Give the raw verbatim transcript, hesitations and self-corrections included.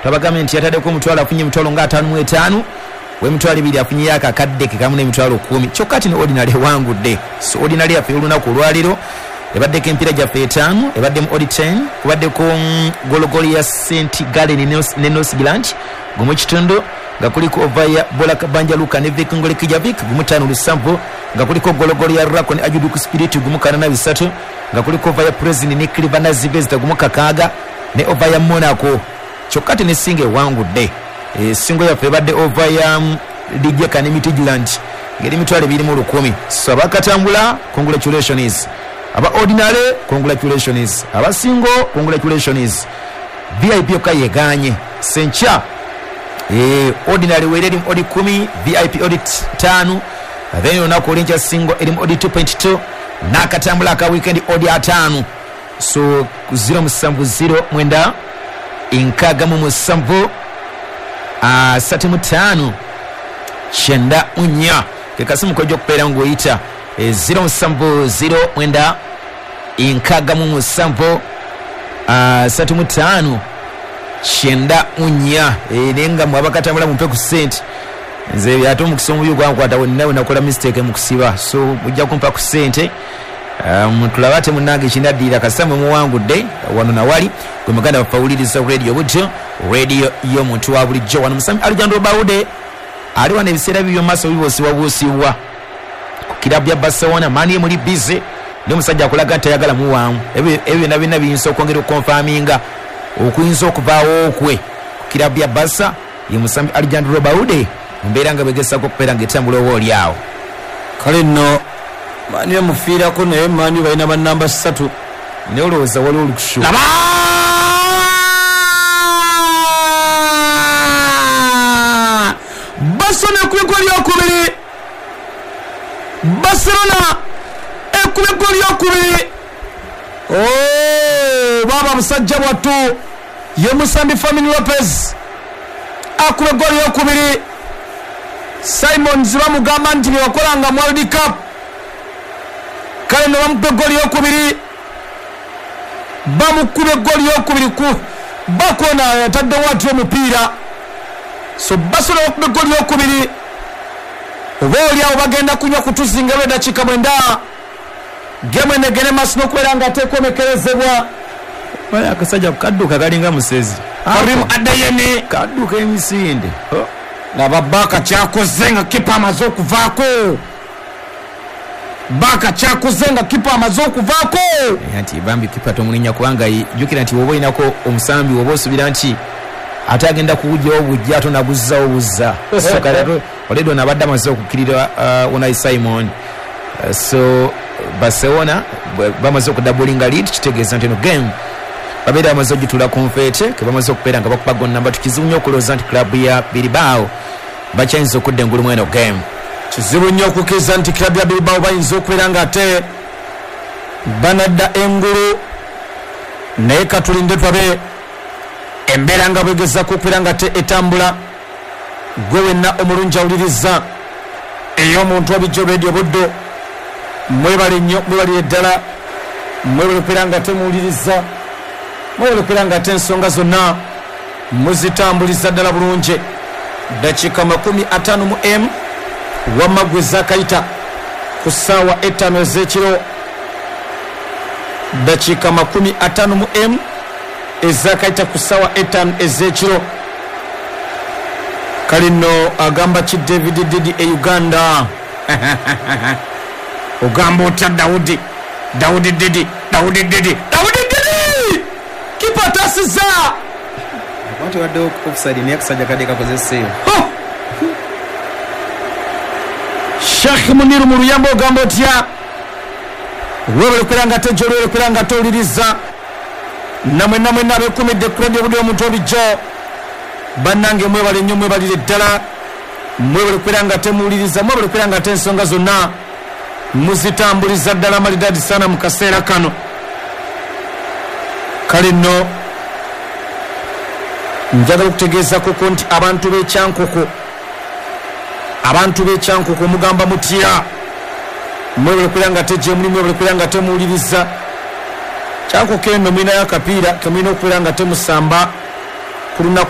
Twabagambye nti yataddeko omutwalo afunye emitwalo nga ataano mu etaano, w'emitwalo ebiri afunyeyo akakadde ke kamu n'emitwalo kkumi. Kyokka ati ne ordinary ewangudde. So ordinary yaffe olunaku olwaleero ebaddeko empiira gyaffe etaano, ebaddemu odi ten, kubaddeko gologolo ya Saint Gallen ne North gumu kitundu, nga kuliko ova ya Bolak Banja Luka ne Viking Reykjavik gumu ttaano lusanvu, nga kuliko gologolo ya Rako ne Ajuduku Spirit gumu kanaana bisatu, nga kuliko ova ya President ne Crvena Zvezda gumu kakaaga ne ova ya Monaco. Kyokka ate ne singa ewangudde. E, singo yaffe ebadde ova ya Rijeka ne Midtjylland ng'eri emitwalo ebiri mu lukumi. So abakatambula, congratulations. Aba ordinary, congratulations. Aba single, congratulations. V I P yokka yegaanye. Sencha e, ordinary were erimu odi kumi, V I P odi ttaano, then olunaku olw'enkya single erimu odi two point two, n'akatambula aka weekend odi ataano. So zero musanvu zero mwenda nkaaga mu musanvu asatu mu ttaano kyenda mu nnya. Ke kasimu kojja okubeera ng'oyita zero musanvu zero mwenda nkaaga mu musanvu asatu mu ttaano kyenda mu nnya. Naye nga mwe abakatambula mumpe ku ssente. Nze ate omukisa omubi gwankwata wenna we nakola mistake mu kusiba, so mujja kumpa ku ssente. Um, tulaba ate munnange ekinaddirira kasita mwe muwangudde wano nawali gwe muganda waffe awuliriza radio butyo, radio y'omuntu wa bulijjo. Wano Musami Alejandro Baude ali wano ebiseera bibyo mu maaso bibuusibwabuusibwa ku kirabu ya Barcelona. Mani muli bize n'omusajja akulaga nti ayagala muwaamu. Ebyo byonna byonna biyinza okwongera okukonfaminga okuyinza okuvaawo kwe ku kirabu ya Barca. Ye Musami Alejandro Baude mu mbeera nga bwegezaako okubeera ng'etambula oba oli awo. Kale nno Mani emufiirako, naye Mani balina bannamba ssatu. Naye olowooza waliwo olukushu. Laba! Barcelona ekuba eggoli lyokubiri. Barcelona ekuba eggoli lyokubiri. Oh, baba musajja bwattu ye Musambi Fermin Lopez akuba eggoli lyokubiri. Simons bamugamba nti bye wakolanga mu World Cup, kale ne bamukuba eggoli lyokubiri. Bamukuba eggoli lyokubiri ku bakona yataddewo ati omupiira. So Barcelona bakuba eggoli lyokubiri. Oba oli awo bagenda kunywa kutuzinga lw'eddakiika mwenda. Gemu eno egende maaso n'okubeera nga tekomekerezebwa. Wali akasajja kadduka kalinga musezi. Karim Adeyemi kadduka emisinde. Laba Baka kyakoze nga kipa amaze okuvaako. Baka kyakoze nga kipa amaze okuvaako. Nti bambi kipa tomulinya kubanga jjukira nti woba olinako omusambi woba osuubira nti ate agenda kuwujjawo bujja ate onaguzzawo buzza. So kale already ono abadde amaze okukkirira uh, Unai Simon. Uh, so Barcelona bamaze okudabulinga lead, kitegeeza nti eno game babeera bamaze ogituula ku nfeete ke bamaze okubeera nga bakuba goal namba. Kizibu nnyo okulowooza nti club ya Bilbao bakyayinza okudda engulu mu eno game. Kizibu nnyo okukkiriza nti club ya Bilbao bayinza okubeera nga ate banadda engulu, naye katulinde twabe embeera nga bwegezaako okubeera nga ate etambula. Gwe wenna omulungi awuliriza ey'omuntu wabijjo radio Buddo, mwebale nnyo, mwebalire ddala, mwebale okubeera nga temuwuliriza, mwebale okubeera nga ate ensonga zonna muzitambuliza ddala bulungi. Dakiika makumi ataano mu emu wamma gwe zaakayita ku ssaawa ettaano ez'ekiro. Dakiika makumi ataano mu emu ezaakayita ku ssaawa ettaano ez'ekiro. Kale nno agamba ki David Didi e Uganda? Ogamba otya Daudi? Daudi Didi, Daudi Didi, Daudi Didi! Kipa atasiza! Abantu baddewo offside naye akasajja kadde kakoze save. Sheikh Muniru mu luyambo ogamba otya? Weebale okubeera nga ate gy'oli, okubeera nga ate owuliriza. Namwe namwe abeekumidde ku radio Buddo omuntu obijjo, bannange mwebale nnyo, mwebalire ddala, mwebale okubeera nga temuwuliriza, mwebale okubeera nga ate ensonga zonna muzitambuliza ddala malidadi sana mu kaseera kano. Kale nno njagala okutegeezako nti abantu b'Ekyankoko, abantu b'Ekyankoko mugamba mutya? Mwebale okubeera nga ate gye muli, mwebale okubeera nga temuwuliriza. Kyankoko eno mulinayo akapiira ke mulina okubeera nga temusamba ku lunaku